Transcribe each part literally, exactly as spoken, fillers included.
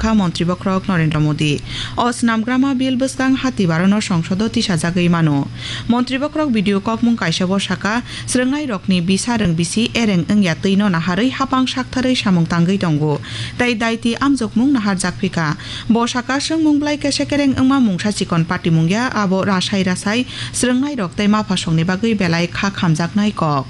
kha Montri Bokhorok Narendra Modi. O Snamgrama Bill bwskang Hatibarono Songsodo tisajagwi mano. Montri Bokhorok video kokmung kaisao saka, swrwngnairokni bisa rwng bisi ereng wngya twino naharwi hapang saktharwi samung tangwi tongo, tei daiti amjokmung naharjak phika. Bo saka, swngmung bwlai kese kereng wngma mungsa chikon patimung ya, abo rasai rasai swrwngnairok tei maphasongni bagwi belai kha khamjaknai kok.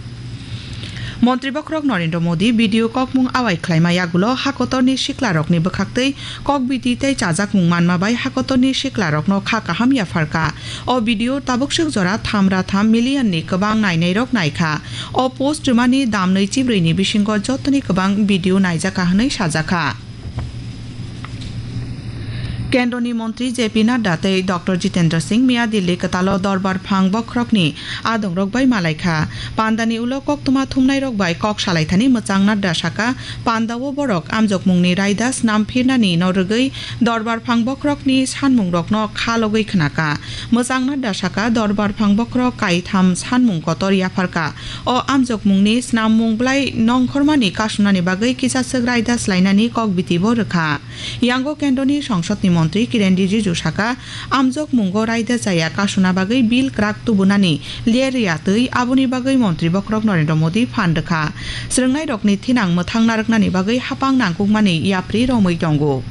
Montri Bokhorok Narendra Modi video kokmung awai khlaima yagulo hakotorni siklarokni bwkhaktwi kokbiti tei chajakmung manma bai hakotorni siklarokno kha kaham yapharkha. O video tabukswk jora tham ra tham million ni kwbang nainairok naikha. O post rwmani dam nwichibrwi ni bisingo jotoni kwbang video naijakha hwnwi sajakha. Kendroni Montri J P Nadda tei Doctor Jitendra Singh miya Delhi kwtalo Dorbar Phang Bokhorokni adongrok bai malaikha. Pandani ulo koktwma thumnairok bai kok salaithani mwchang Nadda saka, pandao borok amjokmungni raida snamphirnani no rwgwi Dorbar Phang Bokhorokni sanmungrokno kha logwi khnaka. Mwchang Nadda saka, Dorbar Phang Bokhorok kaitham sanmung kotor yapharkha. O amjokmungni snammung bwlai nongkhormani kasunani bagwi kisa swk raida swlainani kokbitibo rwkha. Yango Kendroni Songsodni Montri Kiren Rijiju saka, amjokmungo raida chaya kasuna bagwi bill kwrak tubunani ler ya twi, aboni bagwi Montri Bokhorok Narendra Modi phan rwkha. Swrwngnairokni thinang mwthang narwknani bagwi hapang nangkukmani yapri romwi tongo.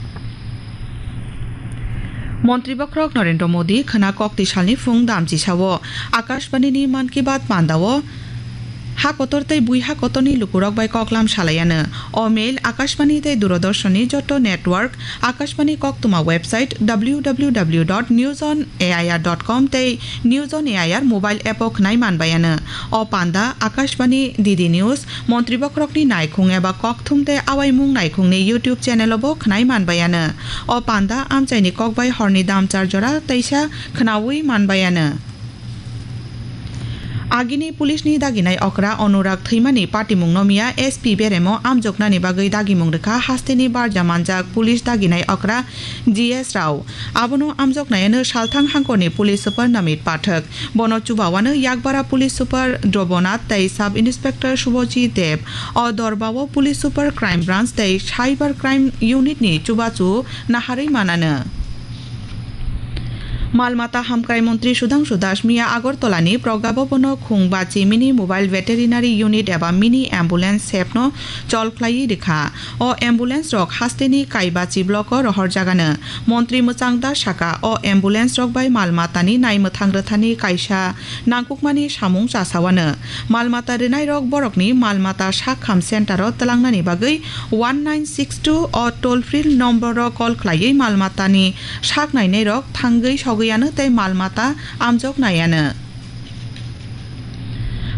Montri Bokhorok Narendra Modi khwna kokti salni phung damchisao Akashbanini Mann Ki Baat pandao ha kotor tei bui ha kotorni lukurok bai koklam salaiano. O mail Akashbani tei Doordarshanni joto network, Akashbani koktwma website W W W dot news on A I R dot com tei News on A I R mobile app o khwnai manbaiano. O panda Akashbani, D D News, Montri Bokhorokni naikhung eba kokthum tei awaimung naikhungni YouTube channel o bo khwnai manbaiano. O panda amchaini kokbai horni dam char jora teisa khwnaui manbaiano. Agini police ni daginai okra Anurag thwimani patimung no miya S P beremo amjoknani bagwi dagimung rwkha hasteni barja manjak police daginai okra G S Rao. Abono amjoknaiano salthang hangkorni police super Namit Pathak. Bono chubawano Yakbara police super Drobonath tei sub inspector Subhajit Deb. O dorbao police super crime branch tei cyber crime unit ni chubachu naharwi manano. Malmata hamkrai montri Sudhangshu Das miya Agartala ni Pragya Bhavan o khung bachi mini mobile veterinary unit eba mini ambulance sep no chol khlaiwi rikha. O ambulance rok hasteni Kaibachi block o rohorjagano. Montri Mwchang Das saka, o ambulance rok bai mal matani naimwthang rwthani kaisa nangkukmani samung chasawano. Mal mata rwnairok borokni mal mata sak kham center o twlangnani bagwi one nine six two o toll free number o call khlaiwi mal matani sak nainairok thangwi sogwiano tei mal mata amjok naiano.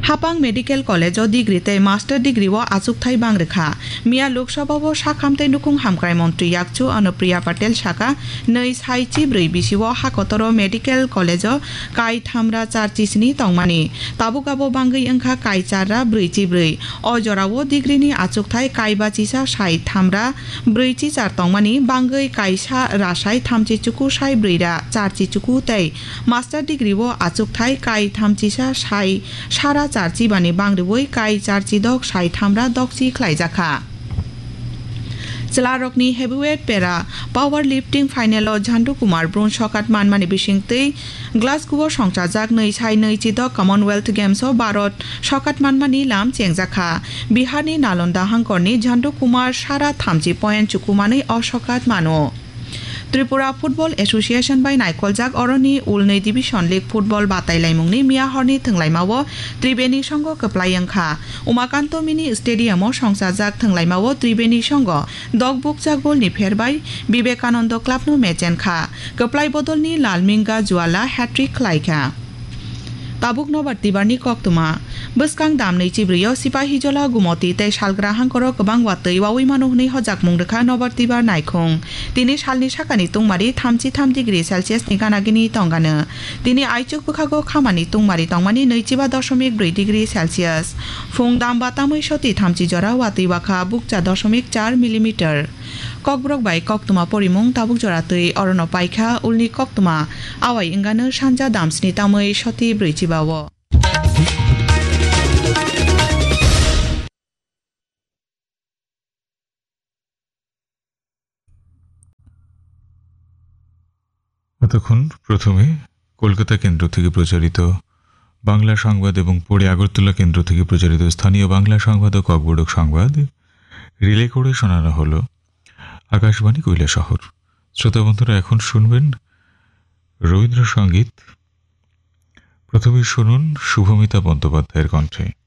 Hapang Medical College o degree tei master degree o achukthai bang rwkha. Miya Lok Sabha o sakham tei nukhung hamkrai montri yakchu Anupriya Patel saka, nwi sai chibrwi bisi o hakotoro Medical College o kai thamra char chisni tongmani. Tabuk abo bangwi wngkha kai char ra brwi chibrwi. O jorao degree ni achukthai kai bachisa sai thamra brwi chichar tongmani, bangwi kaisa ra sai thamchi chuku sai brwi ra char chi chuku tei master degree o achukthai kai thamchisa sai sara charchi bani bangriwi kai charchi dok sai thamra dokchi khlaijakha. Chwlarokni heavyweight para power lifting final o Jhandu Kumar bronze sokat manmani bisingtwi Glasgow o songchajak nwi sai nwi chidok Commonwealth Games o Bharat sokat manmani lam chengjakha. Biharni Nalonda hangkorni Jhandu Kumar sara thamchi point chukumanwi o sokat mano. Tripura Football Association bai naikoljak oroni ulnwi Division League football batailaimungni miya horni thwnglaimao Tribeni songo kwplai wngkha. Umakanto Mini Stadium o songchajak thwnglaimao Tribeni songo dok bukchak golni pher bai Vivekananda Club no mechenkha. Kwplai bodolni Lalminga Juala hat-trick khlaikha. Tabuk Nobar Tibarni koktwma. Bwskang damni chibrwi o Sipahijola, Gumoti tei Salgra hangkoro kwbang watwi wawi mano hwnwi hojakmung rwkha Nobar Tibar naikhung. Tini salni sakani tungmari thamchi tham degree Celsius ni gana gini tongano. Tini aichuk bwkhago khamani tungmari tongmani nwichiba dosomik brwi degree Celsius. Phung damba tamwi soti thamchi jora watwi wakha bukcha dosomik char millimeter. Kokborok bai koktwma porimung tabuk jora twi orono paikha, ulni koktwma awai wngano sanja damsni tamwi soti brwichiba o. এতক্ষণ প্রথমে কলকাতা কেন্দ্র থেকে প্রচারিত বাংলা সংবাদ এবং পরে আগরতলা কেন্দ্র থেকে প্রচারিত স্থানীয় বাংলা সংবাদ ও ককবরক সংবাদ রিলে করে শোনানো হলো আকাশবাণী কৈলাসহর। শ্রোতা বন্ধুরা, এখন শুনবেন রবীন্দ্রসঙ্গীত। প্রথমে শুনুন শুভমিতা বন্দ্যোপাধ্যায়ের কণ্ঠে।